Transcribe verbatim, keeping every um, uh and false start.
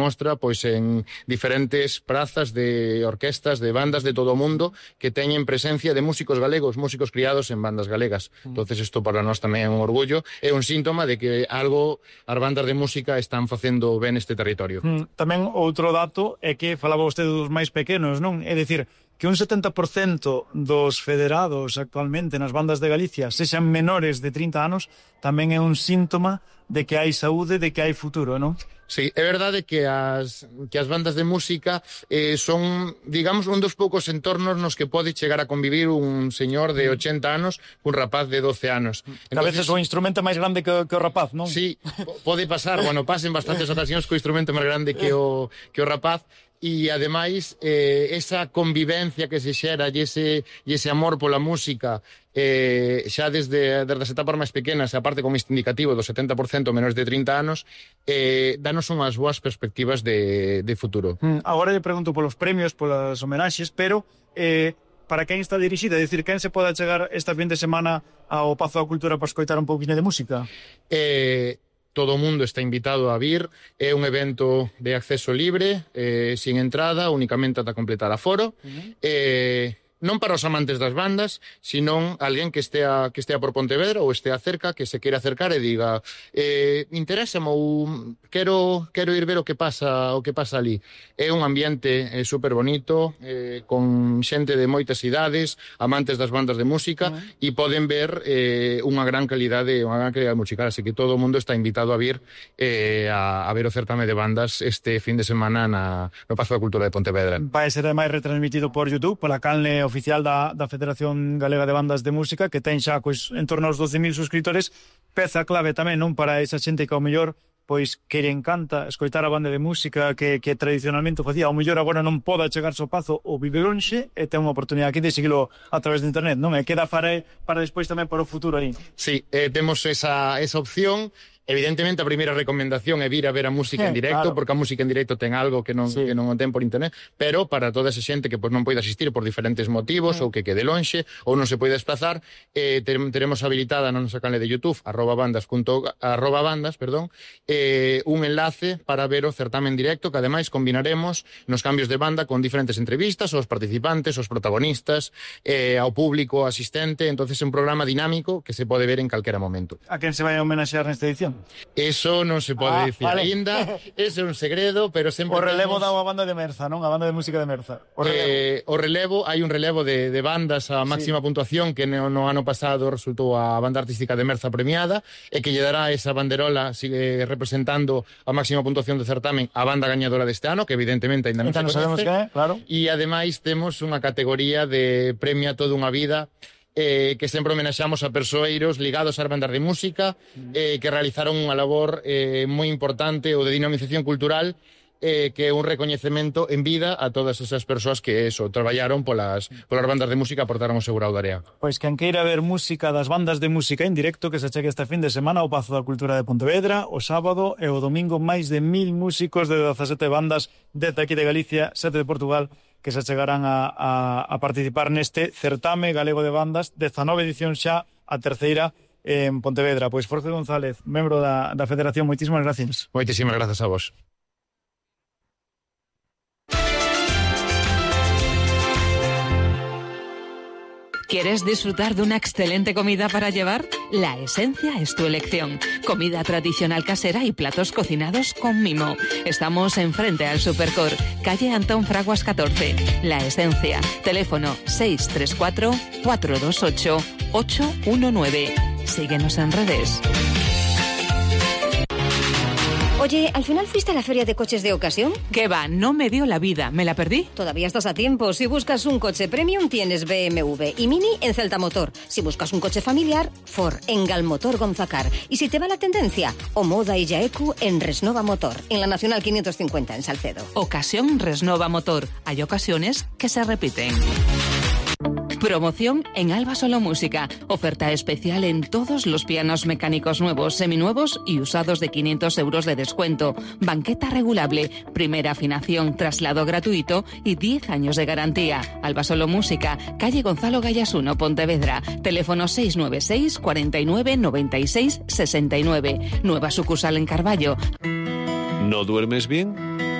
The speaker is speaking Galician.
mostra pois en diferentes prazas de orquestas, de bandas de todo o mundo que teñen presencia de músicos galegos, músicos criados en bandas galegas. Mm. Entonces isto para nós tamén é un orgullo, é un síntoma de que algo as bandas de música están facendo ben este territorio. Mm. Tamén outro dato é que falaba vostede dos máis pequenos, non? É dicir, que un setenta por cento dos federados actualmente nas bandas de Galicia sexan menores de trinta anos, tamén é un síntoma de que hai saúde, de que hai futuro, non? Sí, é verdade que as, que as bandas de música eh, son, digamos, un dos poucos entornos nos que pode chegar a convivir un señor de ochenta anos cun rapaz de doce anos. Entonces, a veces o instrumento máis grande que, que o rapaz, non? Sí, pode pasar, bueno, pasen bastantes ocasións co instrumento máis grande que o, que o rapaz. E, ademais, eh, esa convivencia que se xera e ese, e ese amor pola música eh, xa desde, desde as etapas máis pequenas, aparte como este indicativo do setenta por cento menores de trinta anos, eh, danos unhas boas perspectivas de, de futuro. Mm, agora lle pregunto polos premios, polas homenaxes, pero eh, para quen está dirixida? É dicir, quen se pode chegar esta fin de semana ao Pazo da Cultura para escoitar un pouquinho de música? Eh... Todo o mundo está invitado a vir, é un evento de acceso libre, eh, sin entrada, únicamente ata completar aforo. Uh-huh. Eh, non para os amantes das bandas, sino alguén que estea, que estea por Pontevedra ou estea cerca, que se queira acercar e diga eh, interésame ou quero, quero ir ver o que pasa o que pasa ali. É un ambiente eh, super bonito, eh, con xente de moitas idades, amantes das bandas de música, uh-huh. e poden ver eh, unha gran calidade, unha gran calidade musical, así que todo o mundo está invitado a vir eh, a, a ver o certame de bandas este fin de semana na, no Pazo da Cultura de Pontevedra. Vai ser ademais retransmitido por YouTube, pola canle oficial da, da Federación Galega de Bandas de Música, que ten xa pois, en torno aos doce mil suscriptores, peza clave tamén, non, para esa xente que ao mellor pois que lle encanta escoitar a banda de música que, que tradicionalmente facía, ao mellor agora non poda chegar ao Pazo ou vive lonxe e ten unha oportunidade aquí de seguilo a través de internet, non? E queda para, para despois tamén para o futuro aí. Sí, eh, temos esa, esa opción. Evidentemente a primeira recomendación é vir a ver a música eh, en directo, claro. porque a música en directo ten algo que non, sí. que non o ten por internet, pero para toda esa xente que pois, non pode asistir por diferentes motivos, eh. ou que quede lonxe, ou non se pode desplazar, eh, teremos habilitada na nosa canle de YouTube, arroba bandas, punto, arroba bandas, perdón, eh, un enlace para ver o certamen directo, que ademais combinaremos nos cambios de banda con diferentes entrevistas aos participantes, aos protagonistas, eh, ao público asistente, entonces é un programa dinámico que se pode ver en calquera momento. A quen se vai a homenaxear nesta edición? Eso non se pode ah, dicir vale. Ainda, ese é un segredo, pero sempre o relevo temos... da banda de Merza, non? A banda de música de Merza. O relevo, eh, o relevo hai un relevo de, de bandas a máxima sí. puntuación que no, no ano pasado resultou a banda artística de Merza premiada e que lle dará esa banderola sigue representando a máxima puntuación do certamen a banda gañadora deste ano, que evidentemente ainda non se coñece. Sabemos que é, claro. E ademais temos unha categoría de premio a toda unha vida Eh, que sempre homenaxamos a persoeiros ligados ás bandas de música eh, que realizaron unha labor eh, moi importante ou de dinamización cultural eh, que é un recoñecemento en vida a todas esas persoas que eso, traballaron polas, polas bandas de música, aportaron o seu grau de area. Pois quen queira ver música das bandas de música en directo que se chegue este fin de semana ao Pazo da Cultura de Pontevedra, o sábado e o domingo máis de mil músicos de dezasete bandas desde aquí de Galicia, sete de Portugal, que se chegarán a, a, a participar neste certame galego de bandas, dezanove edición xa, a terceira en Pontevedra. Pois Jorge González, membro da, da Federación, moitísimas gracias. Moitísimas grazas a vos. ¿Quieres disfrutar de una excelente comida para llevar? La Esencia es tu elección. Comida tradicional casera y platos cocinados con mimo. Estamos enfrente al Supercor, calle Antón Fraguas catorce. La Esencia. Teléfono seis tres cuatro, cuatro dos ocho, ocho uno nueve. Síguenos en redes. Oye, ¿al final fuiste a la feria de coches de ocasión? ¿Qué va? No me dio la vida. ¿Me la perdí? Todavía estás a tiempo. Si buscas un coche premium, tienes B M W y Mini en Celta Motor. Si buscas un coche familiar, Ford en Galmotor Gonzacar. Y si te va la tendencia, Omoda y Yaeku en Resnova Motor, en la Nacional quinientos cincuenta en Salcedo. Ocasión Resnova Motor. Hay ocasiones que se repiten. Promoción en Alba Solo Música. Oferta especial en todos los pianos mecánicos nuevos, seminuevos y usados de quinientos euros de descuento. Banqueta regulable, primera afinación, traslado gratuito y diez años de garantía. Alba Solo Música, calle Gonzalo Gallas uno, Pontevedra. Teléfono seis nueve seis, cuarenta y nueve, noventa y seis, sesenta y nueve. Nueva sucursal en Carballo. ¿No duermes bien?